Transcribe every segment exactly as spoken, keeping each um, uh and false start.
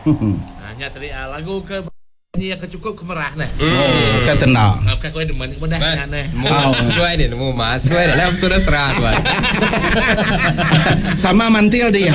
Hanya tadi uh, lagu ke ni ke cukup kemerah nah. Oh, ke tenda. Ngap ka koi demen mudah nya neh. Mu seduai ni nemu mas seduai dalam sudah serah tuan. Sama mantil dia.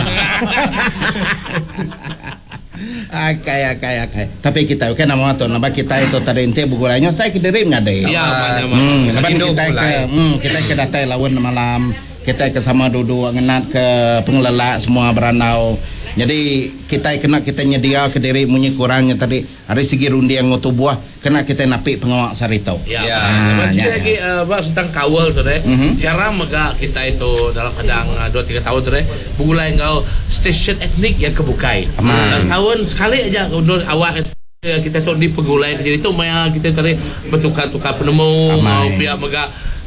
Akai akai akai. Tapi kita kan nama tu nama kita itu tadi ente begulainya saya ke diri ngade. Ya, mana Hmm, lepas kita ke hmm, kita ke datai lawan malam, kita ke sama duduk ngenat ke pengelelak semua beranau. Jadi kita kena kita nyedia ke diri munyi kurangnya tadi hari segi rundiang tubuh kena kita napik pengawak sarito. Ya. Ya. Ah, ya, lagi uh, bah tentang kawal tu deh. Mhm. Jarang mega kita itu dalam kadang dua tiga tahun tu deh begulai ngau stesen etnik yang kebukai. Aman. Uh, setahun sekali aja undur awak kita tu di pegulai jadi tu maya kita tadi bertukar-tukar penemu Amai. ngau pihak mega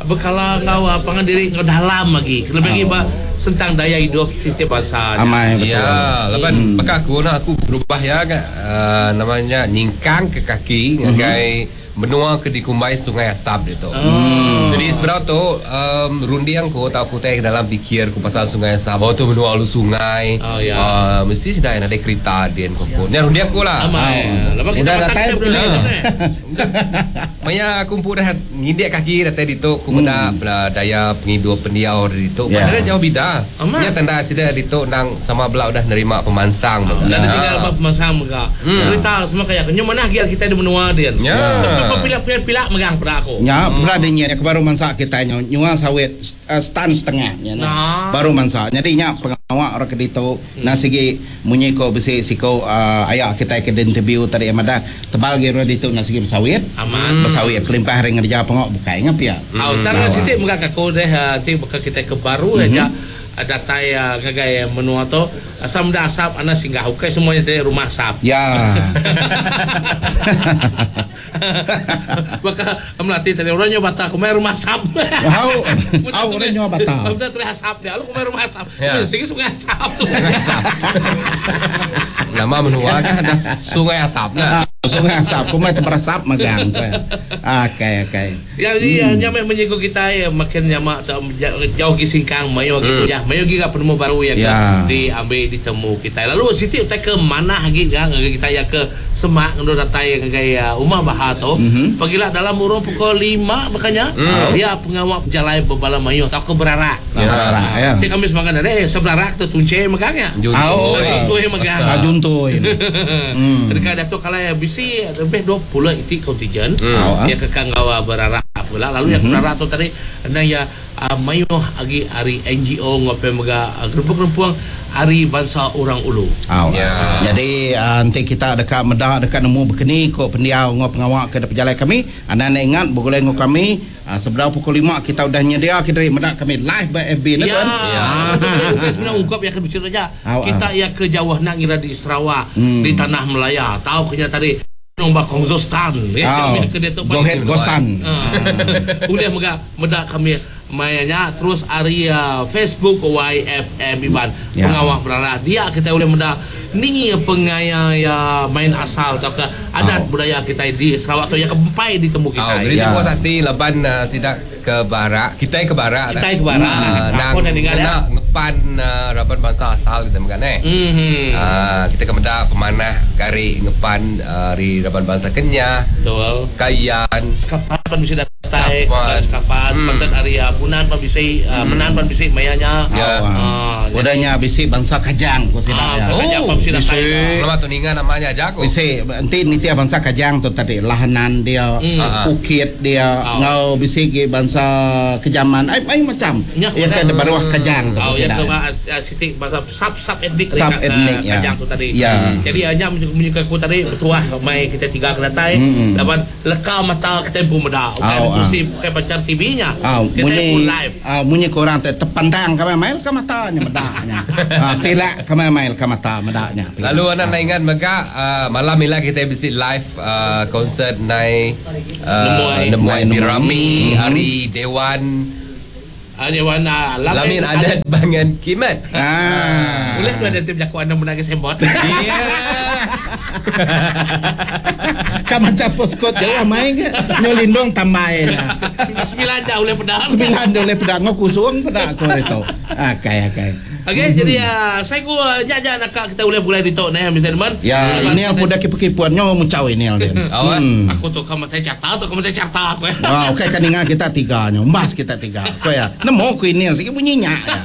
bekala ngau pangan diri ngau dalam lagi. Lebih lagi bah sentang daya hidup setiap bangsa. Amai betul. Ya, lepas hmm. aku nak aku berubah ya kan uh, namanya nyingkang ke kaki ngagai menua ke dikumbai Sungai Asap dia tu. Oh. Jadi sebenarnya tu um, rundiang ko tak aku teh dalam fikir ku pasal Sungai Asap. Oh tu menua lu sungai. Oh, ya. Uh, mesti sudah ada kereta dia ko. Ni rundiang ko lah. Amai. Lepas kita Udah makan datai kita betul. boleh ni. Maya aku pun dah ngindik kaki dah tadi tu ku meda hmm. daya penghidup pendiau di tu. Ya. Padahal jauh bida. Amat. Nya tanda sida di tu nang sama belau dah nerima pemansang. Oh, mega. Dan tinggal apa pemansang mega. Cerita semua kayak kenyo mana giat kita di menua dia. Ya. Tapi pilak-pilak megang pada aku. Ya, pula dia nyiak baru mansak kita nyo nyua sawit uh, stan setengah nya nah. Nah. Baru mansak. Jadi nya pengawak orang ke ditu nah sigi munyi ko besi siko uh, ayak kita ke interview tadi amada tebal ge orang ditu nah sigi bersawit. Aman. Bersawit kelimpah hari ngerja pengok bukai ngap ya. Oh, tar siti mega aku deh nanti bakal kita ke baru aja datai ngagai menua tu asam dah asap ana singgah ukai semuanya dari rumah asap. Ya. Maka melatih tadi orangnya bata kumai rumah asap. Hau, hau orangnya bata. Udah tulis asap dia, lu kumai rumah asap. Ya. Sigi sungai asap tu. Sungai Asap. Nama menua kan ada Sungai Asap nah. Sungai asap, kumai terasap magang. Okey, okey. Ya, jadi hmm. nyamai menyinggung kita ya makin nyamak jauh ke singkang mayo gitu ya. Mayo giga penemu baru yang Ya. diambil ditemu kita. Lalu siti utai ke mana lagi kan kita ya ke Semak ngundur datai ngagai Umar Bahar tu. Mhm. Pagilah dalam urung pukul lima makanya dia pengawak jalan berbala mayo atau ke Berarak. Ya. Ya. Ya. Jadi kami semangat dari eh seberarak tu tunce megangnya. Juntuy. Juntuy megang. Ah, juntuy. Hmm. Dekat Datuk kalau ya bisi lebih dua puluh itik kontingen. Hmm. Dia kekang gawa berarak pula. Lalu yang berarak tu tadi ada ya uh, mayuh agi ari N G O ngope mega uh, gerempung-gerempung ari bangsa orang ulu. Aw. Ya. Jadi uh, nanti kita dekat medah dekat nemu berkeni kok pendiau ngau pengawak ke pejalai kami. Anda nak ingat bergulai ngau kami uh, sebelah pukul lima kita udah nyedia kita medak kami live by F B ni Ya. tuan. Ya. Bukan sebenarnya ungkap yang kena bicara aja. Aw, Kita ya ke jauh nak ngira di Sarawak, Hmm. di tanah Melaya. Tahu kena tadi Nombak Kongzostan. Ya, Aw. kami ke dia tu Gohet gosan. Ah. Udah mega medak kami mayanya terus area Facebook Y F M Iban Ya. pengawak berara dia kita boleh medak ni pengaya ya main asal atau ke adat Oh. budaya kita di Sarawak tu yang keempai ditemu kita. Oh, jadi Ya. puas hati leban uh, sidak ke barak, kita ke barak. Kita ke barak. Uh, nang Aku dah dengar, ya. kena ngepan uh, raban bangsa asal kita makan eh. Mhm. Ah, kita ke medak pemanah gari ngepan uh, ri raban bangsa Kenyah, Betul. Kayan. Sekapan pan bisa datai, Sekapan. sekapan, Hmm. pantat area Punan pan bisa, uh, Menan pan bisa mayanya. Ya. Ah, Udahnya bisi bangsa Kajang ko sila. Ah, ya. bangsa Kajang pan bisa datai. Bisi. Lama tu ninga namanya aja aku. Bisi nanti nitia bangsa Kajang tu tadi lahanan dia, Hmm. Ah. ukit dia, Ah. ngau bisi ge bangsa Kejaman, ai ai macam. Ya, Ya ke benar. baruah Kajang tu Oh, yang sila. ke uh, siti bahasa sub sub etnik Sub etnik, ya. Kajang tu tadi. Ya. Jadi hanya menyukai aku tadi bertuah mai kita tiga ke datai Mm-mm. laban leka mata kita pun meda. Bukan Au, ah. kursi bukan pacar T V-nya. Ah, Kita munyi pun live. ah, munyi korang te tepandang kami mail ke matanya medaknya. Ah, pilak kami mail ke mata medaknya. Lalu anak nak ingat mega uh, malam ni lah kita bisi live uh, konsert nai uh, Nemuai. Nemuai Nai Birami Hari Dewan Ah, Dewan ah, Lamin Adat Bangan Kimat. Ah. Boleh tu ada tim jago anda menangis sembot. Ya. Kan macam poskot jauh main ke nyolindung tamai. Sembilan dah boleh pedang. Sembilan dah boleh pedang ngau kusung pedak aku itu. Akai akai. Okey, jadi uh, saya ku uh, nya aja nak kita boleh mulai di tok ni Mister Edmund. Ya, ini yang pudak kipu-kipuan nyo muncau ini al. Oh, eh. Hmm. Aku tu kamu saya carta tu kamu saya carta aku ya. Wah, okey kan ingat kita tiga nyo. Mbas kita tiga. Ko ya. Nemu ku ini sigi bunyinya. Ya.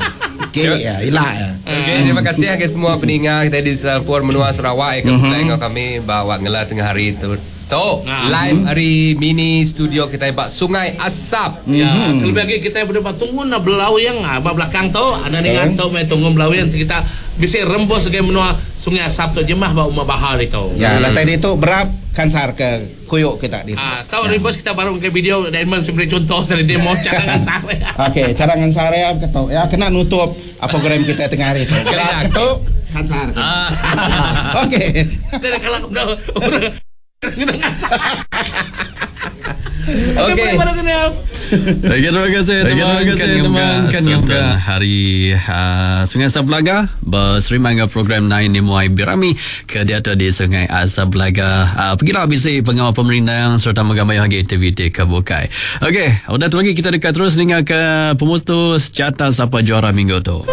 Okey ya, ila ya. Okey, terima kasih ke semua pendengar kita di Selampur Menua Sarawak yang mm-hmm. dengan kami bawa ngela tengah hari tu. Tok, Ah. live hari mini studio kita bak Sungai Asap. Ya, mm-hmm. Lebih lagi kita berdepan tunggu na belau yang ah, ba belakang tu, ada dengan tu mai tunggu belau yang kita bisa rembus ke menua Sungai Asap tu jemah ba Umar Bahar itu. Ya, lah tadi tu berap kansar ke kuyuk kita di. Ah, tahu ya. Rembus kita baru ke video Diamond sebagai contoh dari demo cadangan sare. Okey, cadangan sare ketok. Ya, kena nutup program kita tengah hari tu. Sekali dah. Ketuk kansar. Ah. Okey. Dari kalau udah dengan sare. Okey. Okey, baru kenal. Okey, terima kasih Okey, teman terima kasih teman kan kan juga hari uh, Sungai Asap Belaga berserima dengan program Nine Nemuai Birami ke diatur di Sungai Asap Belaga. Uh, pergilah bisi pengawal pemerintah serta menggambar lagi aktiviti ke bukai. Okey, udah tu lagi kita dekat terus dengan ke pemutus carta siapa juara minggu tu.